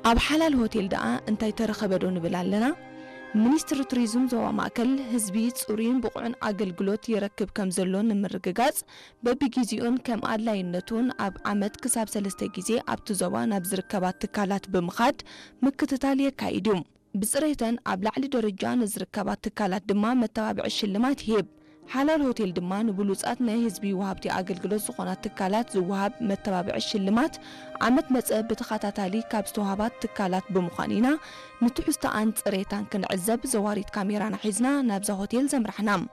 ኣብ ሓላል ሆቴል ደኣ እንታይ ተረኸበ ዶ ንብል ኣለና? ሚኒስትሪ ቱሪዝም ዞባ ማእከል፣ ህዝቢ ጽሩይን ብቑዕን ኣገልግሎት ይረክብ ከም ዘሎ ንምርግጋጽ፣ በብጊዜኡን ከም ኣድላይነቱን ኣብ ዓመት ክሳብ ሰለስተ ግዜ ኣብቲ ዞባ ናብ ዝርከባ ትካላት ብምኻድ ምክትታል የካይድ እዩ። ብጽሬተን ኣብ ላዕሊ ደረጃ ንዝርከባ ትካላት ድማ መተባብዒ ሽልማት ይህብ። ሓላል ሆቴል ድማ ንብሉጻት ናይ ህዝቢ ወሃብቲ ኣገልግሎት ዝኾና ትካላት ዝወሃብ መተባብዒ ሽልማት ዓመት መጸ ብተኸታታሊ ካብ ዝተዋህባ ትካላት ብምዃን ኢና ንትሕዝቶኣን ጽሬታን ክንዕዘብ ዘዋሪት ካሜራና ሒዝና ናብዛ ሆቴል ዘምራሕና።